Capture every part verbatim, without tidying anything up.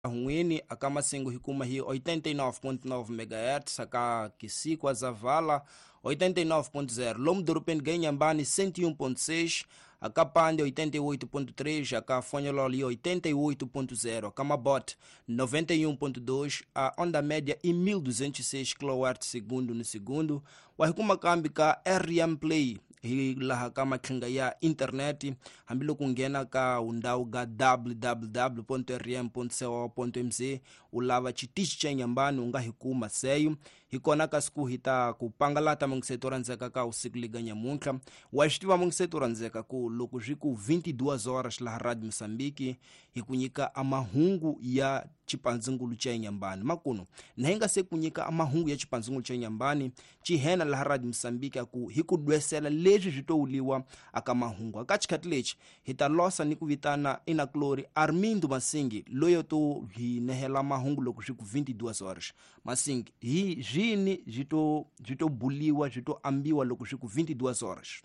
Hunwini aka Masengo hi kuma hi oitenta e nove ponto nove megahertz, aka Quissico Zavala oitenta e nove ponto zero, Lomo Dorupende Ganhambane cento e um ponto seis, aka Pande oitenta e oito ponto três, aka Fonhololi oitenta e oito ponto zero, aka Mabote noventa e um ponto dois, a onda média em mil duzentos e seis quilowatts segundo no segundo, wa hikuma kambi ka R M Play hi laha ka matlhinga ya internet hambiloko nghena ka undhawu ga w w w ponto r m ponto co ponto m z u lava xitichi xa Inhambane u nga hi kuma seyo hi kona ka siku hi ta ku pangalata mungiseto randzeka ka usiku liga nyamuntlha wa swi tiva mungiseto randzeka ku loko swi ku vinte e duas horas laha Radio Moçambique hi ku nyika amahungu ya xipandzingulu xa Inhambane makuno na hi nga se ku nyika amahungu ya xipandzingulu xa Inhambane xihena laha Radio Moçambique ku hi ku dwesela leswi swi to wuliwa aka mahungu aka xikhathi lexi hi ta losa ni ku vitana inaklori Armindo Masingi loyo to hi nehela mahungu loko swi ku vinte e duas horas Masingi hi zwini zwi to zwi to buliwa zwi to ambiwa loko swi ku vinte e duas horas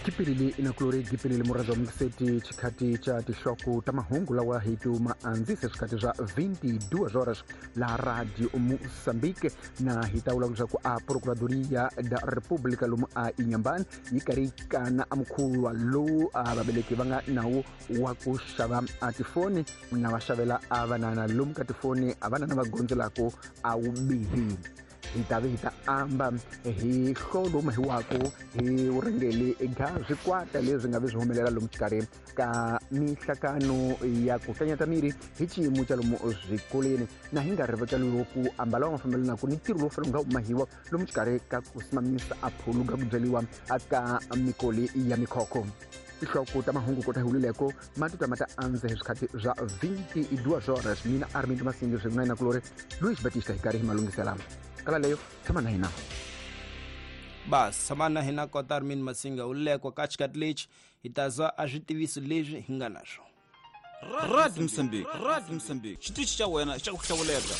Kipilili inaklori kipilili murazo mseti chikati cha tishoku tamahungu lawa hitu maanzise chikati za vinte e duas horas la Radio Moçambique na hitaula ku a Procuradoria da República lumu a Inhambane yikarikana amkhulwa lo a babeleki vanga nawo wa ku xava a tifoni na va xavela a vanana lomu ka tifoni a vanana va gondzelako a wubihi hi ta ve hi ta amba hi hlolo hi wako hi vurhangeri eka swikwata leswi nga vi swi humelela lomu xikarhi ka mihlakano ya ku hlanyata miri hi xiyimo xa lomu swikolweni na hi nga rivekeliwi ku ambala wa mafambelanaka ni ntirho lowu fanele wu nga humahiwa lomu xikarhi ka ku simamisa a phuluka ku byeriwa ka mikoli ya mikhokho tihloko ta mahungu kota hi wulileko matuta ma ta andza hi swikhathi swa vinte e duas horas mina Armindo Masingi swin'wana na kulori Luis Batista hi karhi hi malunghisela kala leyo tshama na hina bas tshama na hina kota Armindo Masinga uleko ka xikhathi lexi hi ta zwa a switiviso leswi hi nga na swona Radio Moçambique, Radio Moçambique, xitichi xa wena xa ku hlawuleka.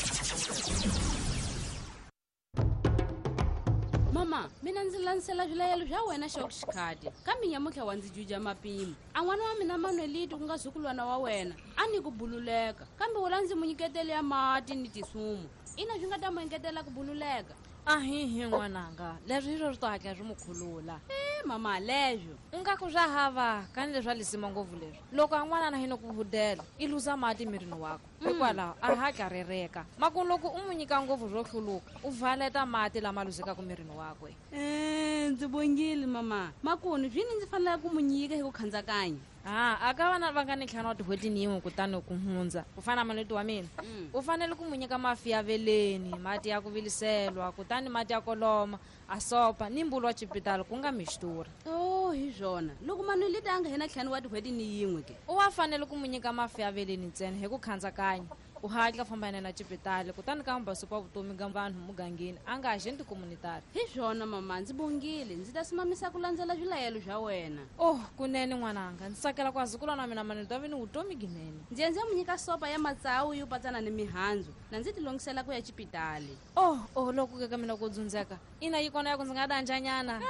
Mama, mina ndzi landzela swilayelo swa wena xa xikhati kambe nyamuntlha wa ndzi juja mapimo a n'wana wa mina Manuelito ku nga zukulwana wa wena a ni ku bululeka kambe wula ndzi mu nyiketele ya mati ni tisumu ina swi nga ta mu engetela ku bululeka ahihi n'wananga leswi hi swo swi to hatla swi mu khulula e mama leswo u nga ku swa hava kani leswi a lisima ngopfu leswi loko a n'wanana hi no ku hudela i luza mati mirini wakwe hikwalaho a hatla rereka maku loko u mu nyika ngopfu swo hluluka u valeta mati lama luzekaka mirini wakwe e ndzi bongile mama makunu swini ndzi fanelaka ku mu nyika hi ku khandzakanya a aka vana va nga ni ntlhanu wa tin'hweti ni yin'we kutani ku hundza ku fana na Manuelito wa mina u fanele ku mu nyika mafi ya veleni mati ya ku viliselwa kutani mati ya koloma a sopa ni mbulu wa xipitali ku nga mixtura o hi swona loko Manuelito a nga hina ntlhanu wa tin'hweti ni yin'we ke u wa fanele ku mu nyika mafi ya veleni ntsena hi ku khandzakanya u hatla famba na xipitali kutani ka mbasupa wa vutomi ga vanhu mugangeni a nga agenti communitary hi swona mama ndzi bongile ndzi ta simamisa ku landzela swilayelo swa wena oh kunene n'wananga ndzi tsakela ku azukulwana wa mina Manuelito a vi ni vutomi ginene ndzi ya ndzi ya mu nyika sopa ya matsawu yo patsana ni mihandzu na ndzi tilongisela ku ya xipitali oh oh loko ke ka mina ku dzundzeka ina yi kona ya ku ndzi nga danjanyana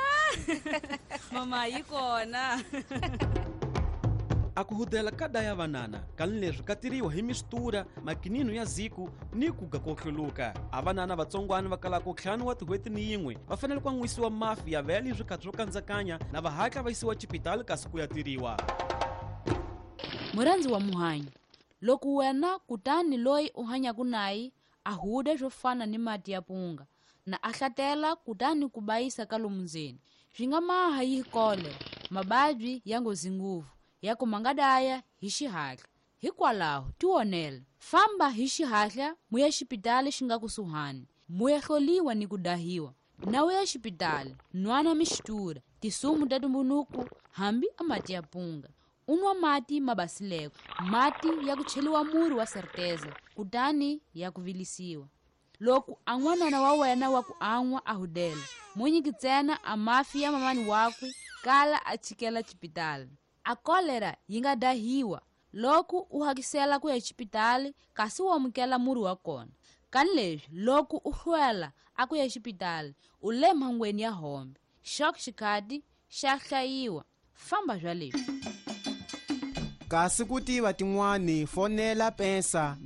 mama yi kona a ku hudela ka daya vanana kani leswi ka tiriwa hi mistura makinino ya ziku ni ku ga ko hluluka a vanana vatsongwana va kalaka ntlhanu wa tin'hweti ni yin'we va fanele ku an'wisiwa mafi ya vele swikhathi swo kandzakanya na va hatla va yisiwa xipitali kasi ku ya tiriwa murhandzi wa muhanyi loko wena kutani loyi u hanyaka naye a huda swo fana ni mati ya punga na a hlatela kutani ku bayisa ka lomu ndzeni swi nga maha yi kole mababyi ya nghozi ngopfu ya ku mangadaya hi xihatla hikwalaho tionela famba hi xihatla muya xipitali xi nga kusuhani muya hloliwa ni ku dahiwa na uya xipitali nwana mixtura tisumu ta tumbunuku hambi a mati ya punga u nwa mati ma basileko mati ya ku cheliwa murhi wa certeza kutani ya ku vilisiwa loko a n'wanana wa wena wa ku an'wa a hudela mu nyiki ntsena a mafi ya mamani wakwe kala a chikela xipitali a kolera yi nga dahiwa loko u hakisela ku ya xipitali kasi u amukela murhi wa kona kani leswi loko u hlwela a ku ya xipitali u le mhangweni ya hombe xok xikhati xa hlayiwa famba swa leswi Kasi ku tiva tin'wani fonela Pensa